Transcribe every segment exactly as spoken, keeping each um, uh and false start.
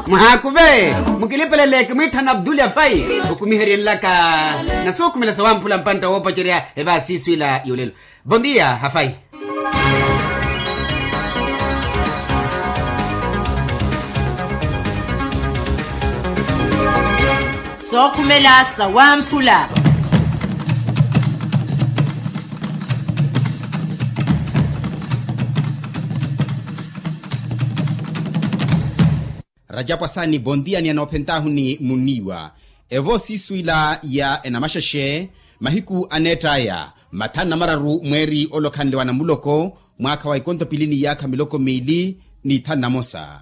Muhaakuve, mukilipelele kimwiitthana abdulya fayi, okumiheryenlaka na sookhumela sawamphula mpantta woopacerya. Evaasiisu ila yolelo. Bondia hafayi. Sookhumela sawamphula. Rajapwasani bondia ni anoophentaahu ni munniiwa. Evo siisu ila ya enamaxexe, mahiku aneett'aya mathanu na mararu mweeri olokhanle wa namuloko, mwaakha wa ikonto pili n'iyaakha miloko miili n'ithanu na mosa.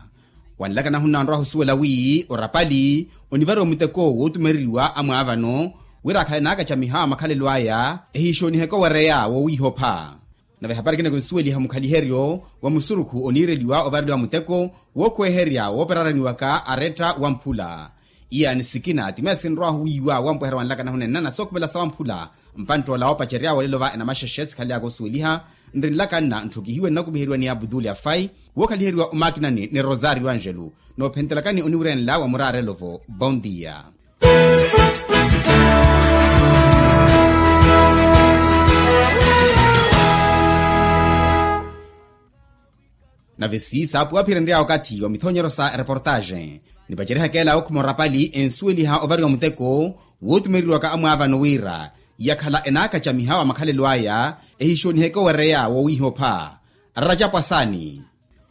Wanlaka nahunna onrwaha osuwela wi orapali onivariwa muteko wootumereriwa amwaavano, wira akhale naakacamiha wa makhalelo aya ehiixooniheke owereya woowiihopha. Nave ehapari ekina kinsuweliha mukhaliheryo wa musurukhu oniireliwa ovareliwa muteko wookhuweherya wooperaraniwaka aretta wamphula. Iyani sikina ti meya sinrwahu wiiwa wampweherya wanlaka nahunenna na sookhumela sawamphula. Mpantt'ola woopacerya wolelo va enamaxexe sikhaleyaka osuweliha. Nrinlaka nna ntthukihiwe nnakumiheriwa ni abuduli afai wookhaliheriwa omakinani ni rosario angelo. Noophentelakani oniwirenla wa muraarelo-vo bondia. Nave siisa apuwaphirenrya okathi wa mithonyero sa ereportaxe, nipacerihaka ela okhuma orapali ensuweliha ovariwa muteko wootumereriwaka amwaavano wira yakhala enaakacamiha wa makhalelo aya ehiixooniheke owereya woowiihopha. Rajapwasani.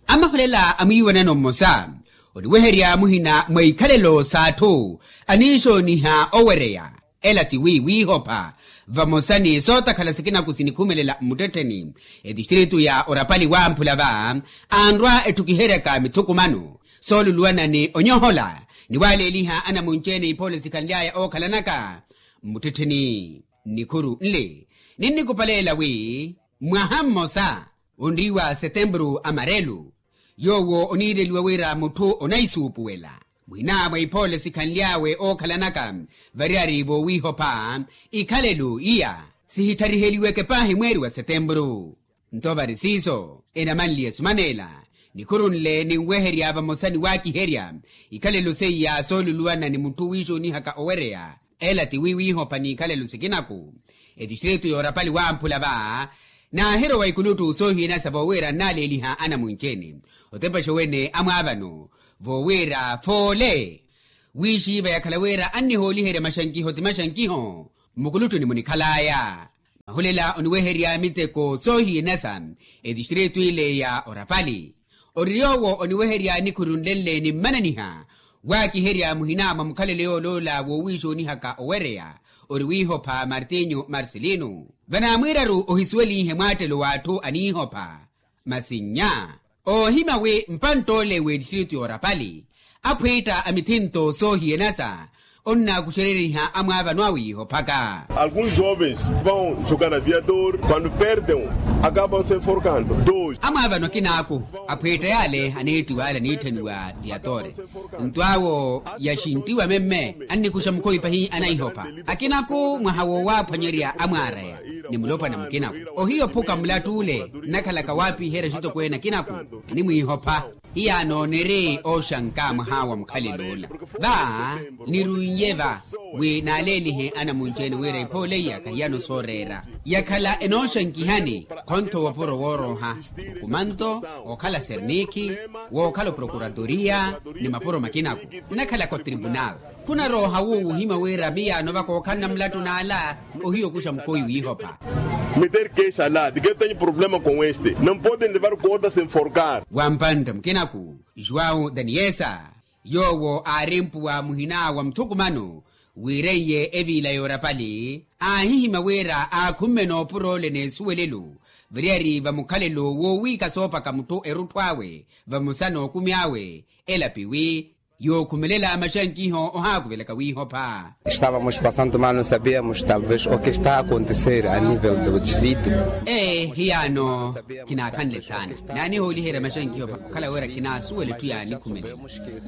Amaholela a mwiiwanano mmosa oniweherya muhina mwa ikhalelo s'atthu aniixooniha owereya. Ela ti wi wiihopha vamosa ni sootakhala sikinaku sinikhumelela mmuttettheni etistritu ya orapali wamphula va anrwa etthukiheryaka mithukumano sooluluwana ni onyohola ni waleeliha anamunci-ene iphoole sikhanly'aya ookhalanaka mmuttettheni. Nnikhuru nle ninnikupaleela wi mwaha mmosa onriiwa setempuru amarelu yoowo oniireliwa wira mutthu onaisuupuwela muhina mwa iphoole sikhanly'awe ookhalanaka variyari voowiihopha ikhalelo iya sihittariheliweke paahi mweeri wa setempuru. Nto vari siiso enamanliye sumaneela nikhuru nle ninweherya vamosa ni waakiherya ikhalelo seiya sooluluwana ni mutthu wiixoonihaka owereya. Ela ti wi wiihopha n'ikhalelo sikinaku etistritu y'orapali wamphula va naahirowa ikuluttu soohiyanasa voowira nnaaleeliha anamunci-ene otepexa owene amwaavano voowira foole wiixiiva yakhala wira annihooliherya maxankiho ti maxankiho mmukuluttu ni munikhal'aya. Mahulela oniweherya miteko soohiyanasa etistritu ile ya orapali ori yoowo oniweherya nikhuru nle nle ni mmananiha waakiherya muhina mwa mukhalelo yooloola woowiixoonihaka owereya ori wiihopha martinho marcelino. Vanaamwiiraru ohisuwelihe mwaattelo w'atthu aniihopha masi nnya oohimya wi mpantt'ole w'etistritu y'orapali aphwiitta a mithinto soohiyanasa onnaakuxereriha amwaavano awiihophaka. Alguns jovens vão jogar na viator quando perdem acabam se enforcando. Amwaavano akinaaku aphwiitta yaale aneettiwa ale aniitthaniwa viator nto awo yaxinttiwa memme annikuxa mukhowi pahi anaihopha. Akinaaku mwaha wowaaphwanyerya amwaaraya ni mulopwana mukinaku ohiyo ophuka mulatt'ule nnakhalaka waapiherya axitokweene akinaku animwiihopha. Hiyaano niri ooxanka mwaha wa mukhalel'ula va nirun'ye va wi naaleelihe anamunci-ene wira iphoole iya kahiyano sooreera yakhala enooxankihani. Khontho wopuro woorooha okumanto wookhala sernikhi wookhala oprokuradoriya ni mapuro makinaku nnakhalaka otribunal. Khunarooha wuwo wuhimya wira miyaano vaka okhanna mulattu n'ala ohiya okuxa mukhowi wiihopha. Meter kexa la de ke tenho problema com este não podem levar corda se enforcar. Wampantta mukinaku juwau daniyesa yoowo aari mpuwa muhina wa muthukumano wiireiye eviila y'orapali aahihimya wira aakhumme n'opura ole n'esuwelelo variyari va mukhalelo woowiika soopaka mutthu erutthu awe vamosa n'okumi awe. Elapi wi Yookhumelela maxankiho ohaakuvelaka wiihopha. Estávamos passando mal, não sabíamos talvez o que está a acontecer a nível do distrito. Ee, hiyaano khinaakhanle saana. Naanihooliherya maxankiho okhala wira khinaasuwela etthu yaanikhumelela.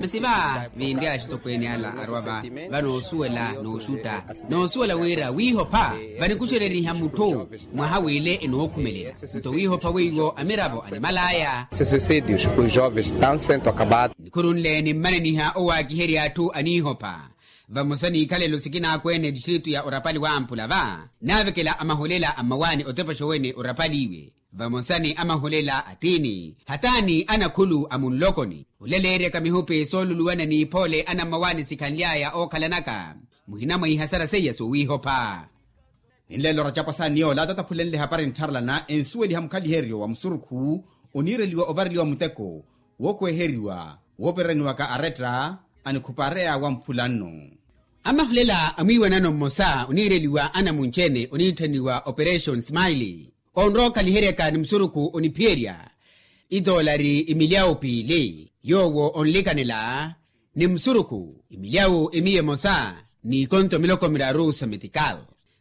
Masi va vinri axitokweene ala arwa va, vanoosuwela nooxutta, noosuwela wira wiihopha vanikuxereriha mutthu mwaha w'ile enookhumelela. Nto wiihopha weiwo amiravo animal'aya. Suicídios, os jovens estão sendo acabados. Nikhuru nle nimmananiha owaakiherya atthu aniihopha. Vamosa n'ikhalelo sikinaakwene etistritu ya orapali wamphula va, naavekela amaholela a mmawaani otepaxa owene orapali iwe. Vamosa ni amaholela a tiini hataani anakhulu a munlokoni olaleeryaka mihupi sooluluwana n'iphoole anammawaani sikhanly'aya ookhalanaka. Muhina mwa ihasara seiya soowiihopha. Ninleelo racapo asaani yoola tataphulenle hapari nttharalana ensuweliha mukhaliheryo wa musurukhu oniireliwa ovareliwa muteko, wookweeheriwa woopereraniwaka aretta anikhupareya wamphula nno. Amahulela a mwiiwanano mmosa oniireliwa anamunci-ene oniitthaniwa operation smile, onrowa okhaliheryaka ni musurukhu oniphiyerya itoolari imilyawu piili yoowo onlikanela ni musurukhu imilyawu emiya emosa n'ikonto miloko miraru sa metikal.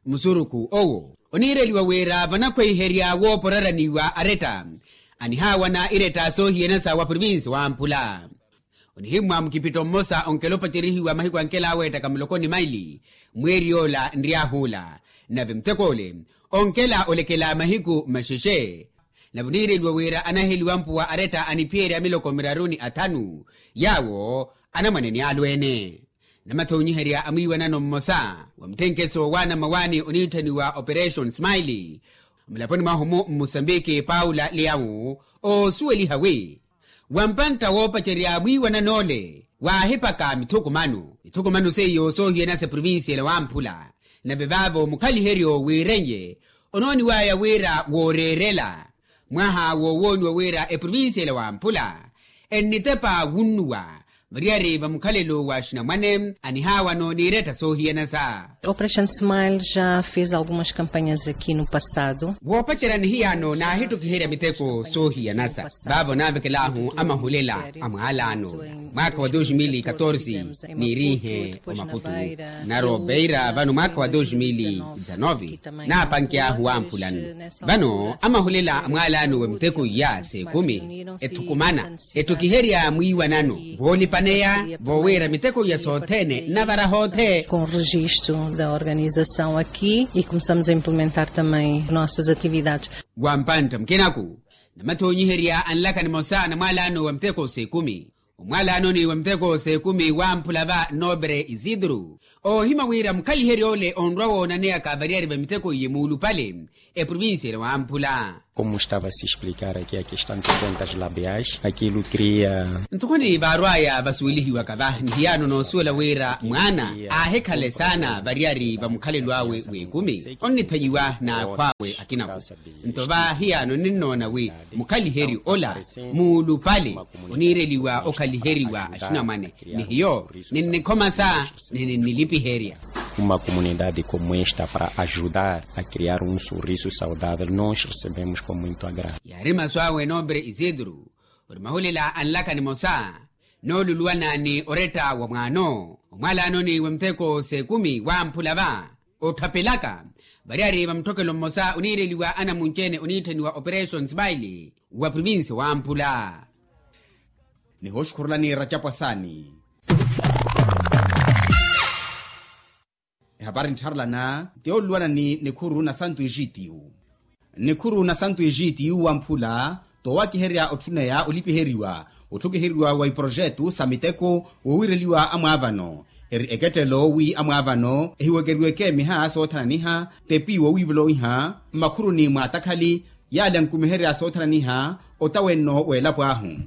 Musurukhu owo oniireliwa wira vanakhweiherya wooporaraniwa aretta anihaawana iretta soohiyanasa wa provinsi wamphula. Onihimmwa mukipitto mmosa onkela opacerihiwa mahiku ankela aweettaka muloko ni maili mweeri yoola nryahuula. Nave mutek'ole onkela olekela mahiku maxexe. Nave oniireliwa wira anaheliwa mpuwa aretta aniphiyerya miloko miraru ni athanu yaawo anamwane ni alweene. Namathonyiherya a mwiiwanano mmosa wa mutthenkeso wa anammawaani oniitthaniwa operation smile mulaponi mwahu-mu mmusambiki paula liyawu oosuweliha wi wampantta woopacerya mwiiwanan'ole waahipaka mithukumano mithukumano seiyo soohiyanasa eprovinsiyela wamphula. Nave vaavo mukhaliheryo wiiren'ye onooniw'aya wira wooreerela mwaha woowooniwa wira eprovinsiyela wamphula ennitepa wunnuwa variyari va mukhalelo wa axinamwane anihaawano n'iretta soohiyanasa. Operation smile já fez algumas campanhas aqui no passado. Woopacerya nihiyaano naahittukiherya miteko soohiyanasa vaavo naavekel'ahu amahulela a mwaalaano mwaakha wa dos mil e catorze niiriihe omaputu. Naro beira vano mwaakha wa dos mil e dezanove naapanke'ahu wamphulano. Vano amahulela a mwaalaano wa miteko iya s'ekumi ethukumana ettukiherya mwiiwanano voolipaneya vooweera miteko iya sothene nnavara hoothe. Com registo da organização aqui e começamos a implementar também nossas atividades. Wampantta mukinaku namathonyiherya anlaka nimosa na mwaalaano wa miteko s'ekumi. Omwaalaanoni wa miteko s'ekumi wamphula va nobre isidro oohimya wira mukhalihery'ole onrwa woonaneyaka variyari va miteko iye muulupale eprovinsiyela wamphula. Como estava a se explicar aqui a questão de contas labiais aquilo cria. Nthokoni vaarw'aya vasuwelihiwaka va nihiyaano noosuwela wira mwaana aahikhale saana variyari va mukhalelo awe w'ekumi onnithanyiwa n'akhw'awe akinaku. Nto va hiyaano ninnoona wi mukhaliheryo ola muulupale oniireliwa okhaliheriwa axinamwane ni hiyo ninnikhomasa ni ninnilipiherya. Uma comunidade como esta para ajudar a criar um sorriso saudável nós recebemos com muito agrado. Yaari masu awe nobre isidro ori mahulela anlaka nimosa nooluluwana ni oretta wa mwaano omwaalaanoni wa miteko s'ekumi wamphula va otthapelaka variyari va mutthokelo mmosa oniireliwa anamunci-ene oniitthaniwa operation smile wa provinsi wamphula. Nihooxukhurulani racapo asaani. Ehapari nttharelana ti yooluluwana ni nikhuru na santu ejitiyu. Nikhuru na santu ejitiyu wamphula toowakiherya otthuneya olipiheriwa otthukiheriwa wa iprojetu sa miteko woowireliwa amwaavano eri ekettelo wi amwaavano ehiwekeriweke miha soothananiha tepi wowiivolonwiha mmakhuruni mwaatakhali yaale ankumiherya soothananiha otawenno w'elapo ahu.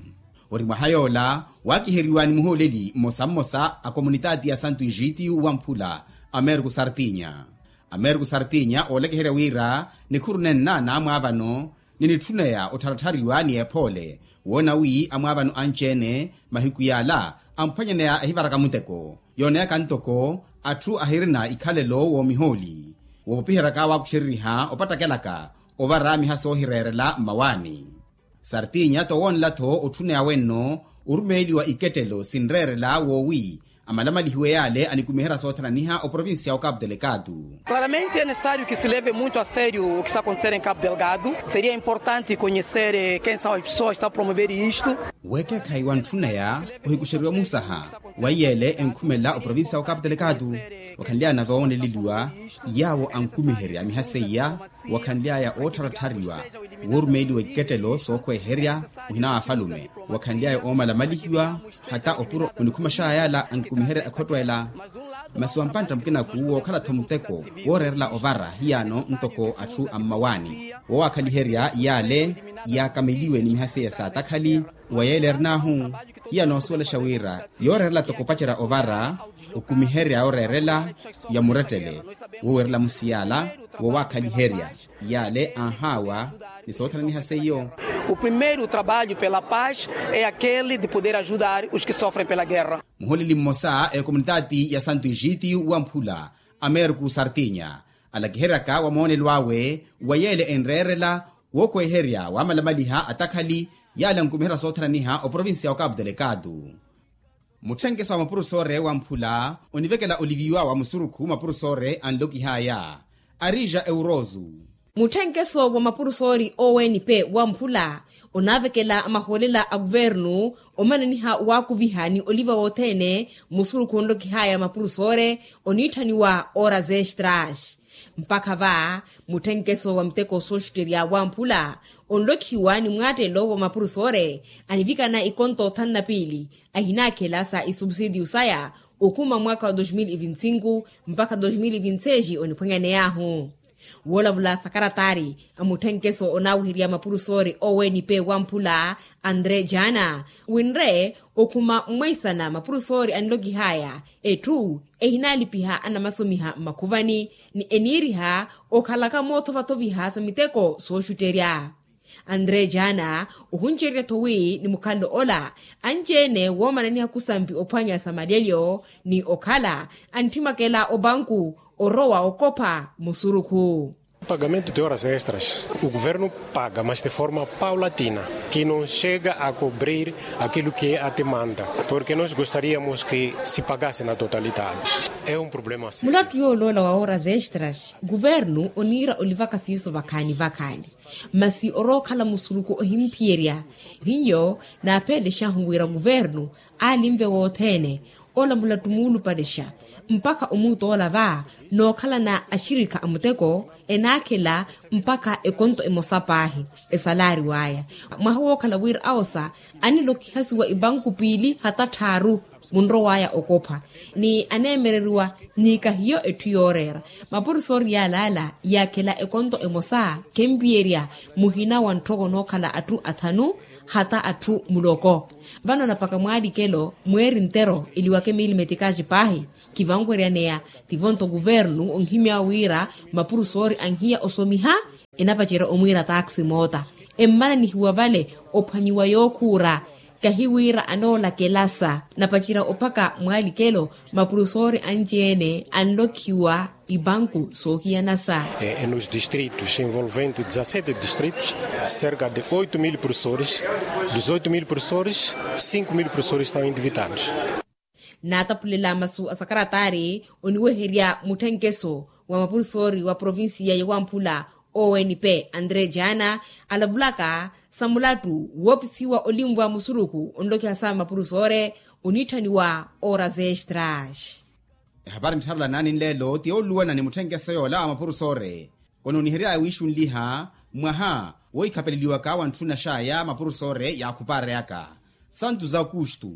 Ori mwaha yoola waakiheriwa ni muhooleli mmosa mmosa a komunitaati ya santu ejitiyu wamphula amerko sartinya. Amerko sartinya oolekeherya wira nikhuru nenna naamwaavano ni nitthuneya ottharattariwa ni ephoole woona wi amwaavano anci-ene mahiku yaala amphwanyaneya ehivaraka muteko yooneyaka ntoko atthu ahirina ikhalelo woomihooli woopopiheryaka waakuxereriha opattakelaka ovara miha soohireerela mmawaani. Sartinya toowoonela-tho otthuneya wenno Orumeeliwa ikettelo sinreerela woowi amalamalihiwe yaale anikumiherya soothananiha oprovincia ya okapu delikatu. Claramente é necessário que se leve muito a sério o que está acontecendo em Cabo Delgado. Seria importante conhecer quem são as pessoas que estão a promover isto. Weekeekhayi wantthunaya ohikuxeriwa musaha wa iyeele enkhumelela oprovincia ya okapu delikatu. Wakhanlyana voowoneleliwa yaawo ankumiherya miha seiya, wakhanly'aya oottharatthariwa woorumeeliwa ikettelo sookhweeherya muhina wa afalume, wakhanly'aya oomalamalihiwa hata opuro onikhumax'aya yaala ankumiherya ekhotto ela. Masi wampantta mukinaku wookhala-tho muteko wooreerela ovara hiyaano ntoko atthu a mmawaani woowakhaliherya yaale yaakameliwe ni miha seiya saatakhali. Wa yeele erin'ahu hiya noosuwelexa wira yooreerela toko opacerya ovara okumiherya oreerela ya murettele woowerela musiyala woowakhaliherya yaale anhaawa ni soothananiha seiyo. O primeiro trabalho pela paz é aquele de poder ajudar os que sofrem pela guerra. Muholeli mmosa a ekomunitaati ya santo egito wamphula americo sartinya alakiheryaka wa moonelo awe wa yeele enreerela wookhweeherya wamalamaliha atakhali yaale ankumiherya soothananiha oprovincia ya okapu delikatu. Mutthenkeso wa mapurusoore wamphula onivekela oliviwa wa musurukhu mapurusoore anlokih'aya arija euroso. Mutthenkeso wa mapurusoori owenpe wamphula onaavekela mahoolela a kuvernu omananiha waakuviha ni oliva wothene musurukhu onlokih'aya mapurusoore oniitthaniwa ooras extras. Mpakha va mutthenkeso wa miteko sooxutterya wamphula onlokhiwa ni mwaattelo wa mapurusoore anivikana ikonto thanu na piili ahinaakhela sa isubsidiyu saya okhuma mwaakha wa dos mil e vinte cinco mpakha dos mil e vinte seis oniphwanyaney'ahu. Woolavula sakaratari a mutthenkeso onaaweherya mapurusoori owenpe wamphula andre jana winre okhuma mmweisana mapurusoori anlokih'aya etthu ehinaalipiha anamasomiha mmakhuvani ni eniiriha okhalaka moothovathoviha sa miteko sooxutterya. Andre jana ohuncererya-tho wi ni mukhalelo ola anci-ene woomananiha khusampi ophwanya sa malyelyo ni okhala antthimakela opanku orowa okopha musurukhu. Pagamento de horas extras o governo paga mas de forma paulatina que não chega a cobrir aquilo que é a demanda, porque nós gostaríamos que se pagasse na totalidade. É um problema sério. Mulattu yooloola wa horas extras guvernu oniira olivaka siiso vakhaani vakhaani masi orookhala musuruku ohimphiyerya. Hiyo naapheelexahu wira guvernu aalinve wothene ola mulattu muulupalexa mpakha omuutoola va nookhalana axirikha a muteko enaakhela mpakha ekonto emosa paahi esalaari waya mwaha wookhala wira awosa anilokihasiwa ipanku piili hata tthaaru munrow'aya okopha ni aneemereriwa ni kahiyo etthu yooreera mapurusoori yaalaala yaakhela ekonto emosa khempiyerya muhina wa ntthoko nookhala atthu athanu hata atthu muloko. Vano napaka mwaalikelo mweeri ntero eliwake miili metikaci paahi kivanweryaneya tivonto kuvernu onhimya wira mapurusoori anhiya osomiha enapacerya omwiira taaksi moota emmananihiwa vale ophwanyiwa yookhuura kahi wira anoolakelasa napacerya ophaka mwaalikelo mapurusoori anci-ene anlokhiwa ipanku soohiyanasa. Nos distritos envolvendo dezassete distritos cerca de oito mil professores dos oito mil professores cinco mil professores estão endividados. Naataphulela masu a sakaratari oniweherya mutthenkeso wa mapurusoori wa provincia ya wamphula onp andre jana alavulaka sa mulattu woopisiwa olinvwa musuruku onlokiha sa mapurusoore oniitthaniwa horas extras. Ehapari nttharela naani nleelo ti yooluwana ni mutthenkeso yoola wa mapurusoore ononiheryaya wiixunliha mwaha woikhapeleliwaka wa ntthuna xaya mapurusoore yaakhupaareyaka santu za okustu.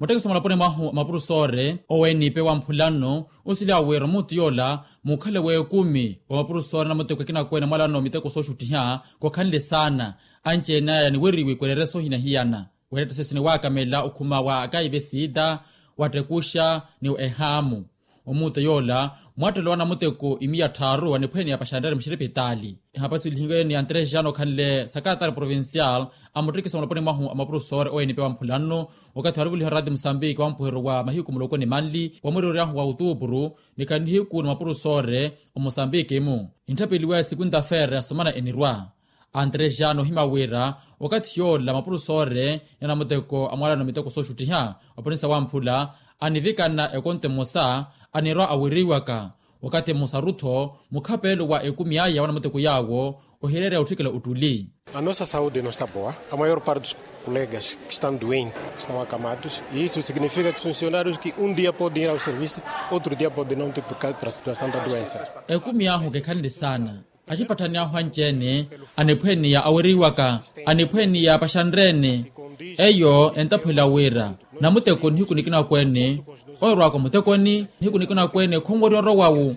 Muttekisi mulaponi mwahu a mapurusoore owennipe wa mphula nno osiliya wira omuutu yoola mukhale w'ekumi wa mapurusoore na muteko akina akweene mwalano miteko sooxuttiha khokhanle saana anci-ene aya niweriwe kwerere soohina hiyana. Weerettesesi niwaakamela okhuma wa akaive siita wattekuxa ni ehaamu omuutu yoola mwattelo wa namuteko imiya tthaaru aniphwene yapaxanrere muxiripitaali. Ehapasi olihiwe ni antrejano okhanle sakaratari provincial amuttekisa muloponi mwahu a mapurusoore owenipe wa mphula nno wakathi warivuliha raati musambiki wa mpuhero wa mahiku muloko ni manli wa mwiriroryahu wa otuupuru ni khanihiku ni mapurusoore omusambiki-mu. Nitthapeliwa ya sikunta feere asomana enirwa Antre jano ohima wira wakathi yoola mapurusoore ni anamuteko a mwaalano miteko sooxuttiha, oponisa wamphula anivikana ekonto emosa anirwa awiriwaka. Wakathi emosaru-tho mukhapeelo wa ekumi aya wa anamuteko yaawo ohireerya otthikela ottuli. A nossa saude no sta boa. A maior parte dos colegas que estão doentes estão acamados e isso significa que os funcionários que um dia podem ir ao serviço, outro dia podem não ter por causa da situação da doença. Ekumi ahu kekhanle saana. Axipatthani ahu anci-ene aniphweniya aweriwaka, aniphweniya paxanre-ene. Eyo entaphwela wira namuteko nihiku nikina-kweene, oorwaka omutekoni nihiku nikina-kweene khonweriwa orowawu.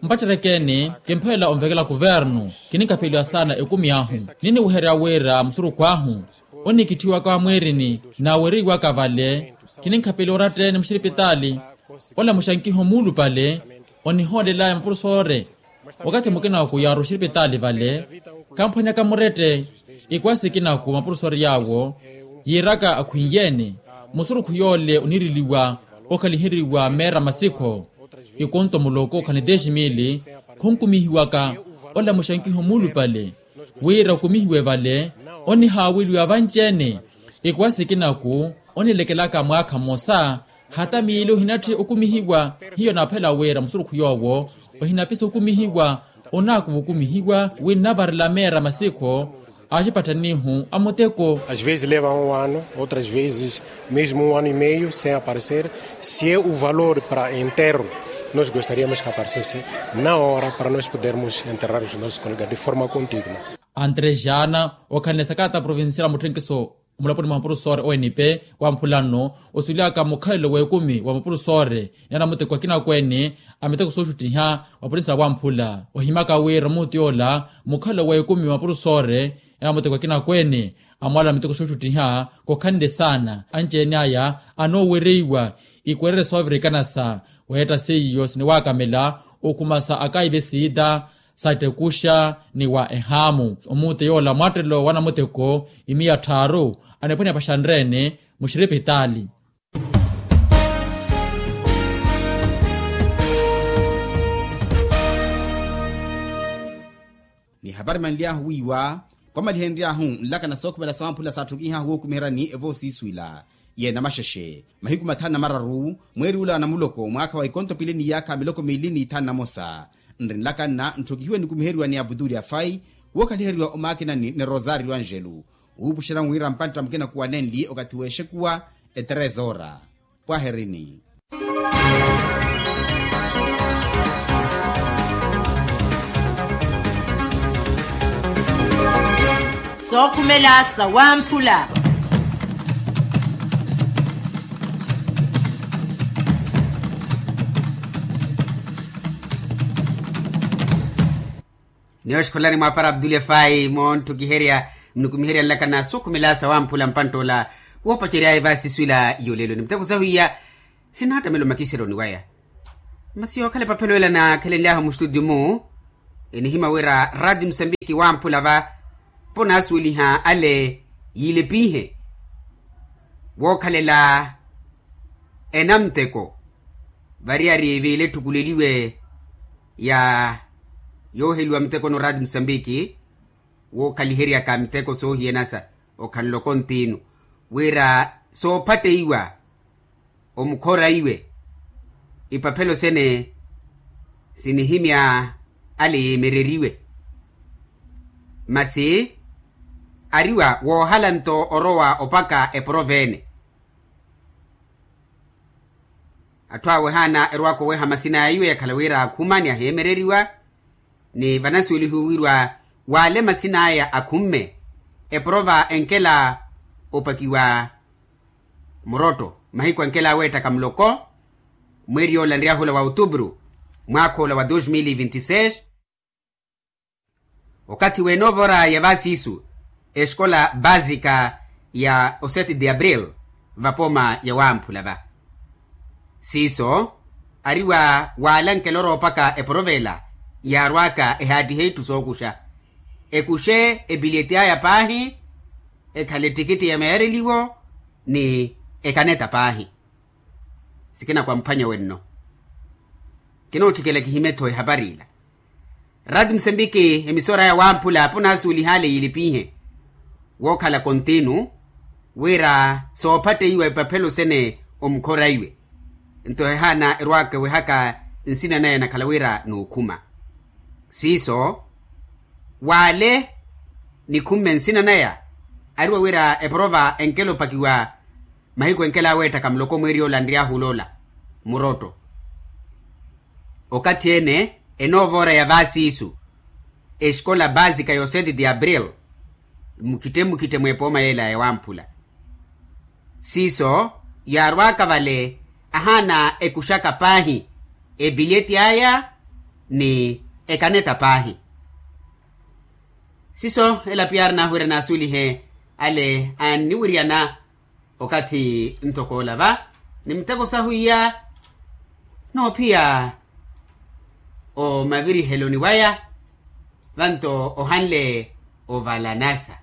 Mpatterekeni kimphelela onvekela kuvernu. Kininkapheliwa saana ekumi ahu. Niniweherya wira musurukhu ahu onikitthiwaka wa mwiirini naaweriwaka vale. Kininkhapeliwa oratta-ene muxiripitaali. Olamuxa nkiho muulupale onihoolelaya mapurusoore. Wakathi mukina-ku yaaru oxiripitaali vale kamphwanyaka murette. Ikwasi ikina-ku mapurusoori yaawo yiiraka akhwiiye-ene musurukhu yoole oniriliwa okhaliheriwa meera masikho ikonto muloko khani deximili. Khunkumihiwaka olamuxa nkiho muulupale wira okumihiwe vale onihaaweliwa vanci-ene. Ikwasi ikina-ku onilekelaka mwaakha mmosa hata miili ohinatthi okumihiwa. Hiyo naaphela wira musurukhu yoowo ohinapisa okumihiwa onaakuva okumihiwa wi nnavarela meera masikho. Axipatthanihu a muteko. Às vezes leva um ano, outras vezes mesmo um ano e meio sem aparecer. Se é o valor para enterro, nós gostaríamos que aparecesse na hora para nós podermos enterrar os nossos colegas de forma condigna. Antre jana okhanle sakata provincial a mutthenkiso omulaponi mwa mapurusoore o n p wa mphula nno osulyaka mukhalelo w'ekumi wa mapurusoore ni anamuteko akina-kweene a miteko sooxuttiha wa polinsi na wamphula ohimaka wira omuuti yoola mukhalelo w'ekumi wa mapurusoore ni anamuteko akina-kweene a mwaalano a miteko sooxuttiha kokhanle saana anci-ene aya anoowereiwa. Ikwererye soovirikana sa weetta seiyo siniwaakamela okhumasa akaive siita sa ettekuxa ni wa ehaamu omuute yoola mwaattelo wa namuteko imiya tthaaru aniphwanya paxanreene muxiripitaali. Ni hapari manly'ahu wiiwa kwamalihenry'ahu nlakana sookhumela sawamphula saatthukihahu wookumiheryani evoosiiswila yeena maxexe mahiku mathanu na mararu mweeri ula wa namuloko mwaakha wa ikonto pili ni yaakha miloko miili ni ithanu na mosa. Nri nlakanna ntthukihiwe nikumiheriwa ni aputuli afai wookaliheriwa omaakinani ni rosario angelu wuupuxerya wira mpantta mukina kuwanenli okathi w'exekuwa etresora. Pwaherini. Sookhumela sawamphula. Ni oxikholani mwaapara abdul efai moonttukiherya mnikumiherya nlakana sookhumela sawamphula mpantt'ola woopacery'aya evaasiswila y'olelo ni muteko sahu iya. Sinattamela omakiseryoni waya masi yookhala epaphelo ela naakhelenly'ahu mustutio-mu. Enihimya wira rati musambiki wamphula va ponaasuweliha ale yiilepihe wookhalela enamuteko variyari viiletthukuleliwe ya yooheliwa muteko norati musambiki wookhaliheryaka miteko soohiyanasa okhanloko ntiinu wira soophatteiwa omukhora iwe ipaphelo sene sinihimya ale yeemereriwe masi ariwa woohala nto orowa opaka eporovene. Atthu awe haana erowaka oweha masin'aya iwe yakhala wira akhuma ni aheemereriwa ni vanasuwelihiwe wirwa waale masin'aya akhumme eporova enkela opakiwa murotto mahiku enkela aweettaka muloko mweeri yoola nryahula wa otubru mwaakha ola wa dos mil vinti seis. Okathi w'enoova ora ya vaasiisu exikola baasika ya o sete de abril vapooma ya wamphula va siiso ariwa waalankela orowa opaka eporovela yaarwaka ehaattihe itthu sookuxa ekuxe epiliyeti aya paahi ekhale ettikitti ya meereliwo ni ekaneta paahi. Sikina kwamphwanya wenno kinootthikela kihime-tho ehapari ila. Rati musembiki emisora ya wamphula apo naasuwelihale yiilipihe wookhala kontinu wira soophatteiwa epaphelo sene omukhoreiwe. Nto ehaana erwaaka ewehaka nsina naya enakhala wira nookhuma siiso waale nikhumme nsina naya ariwa wira eporova enkela opakiwa mahiku enkela aweetthaka muloko mweeri yoola anry'ahu oloola murotto. Okathi ene enoovoora ya vaasiisu exkola baasika ya oseti de abril mukhitte mukhitte mweepooma yeela ya wamphula siiso yaarwaaka vale ahaana ekuxaka paahi epileti aya ni ekaneta paahi. Siiso ela piya arinaahu wira naasuwelihe ale anniwiryana okathi ntoko ola va ni miteko sahu iya noophiya omaviriheloni waya vanto ohanle ovalanasa.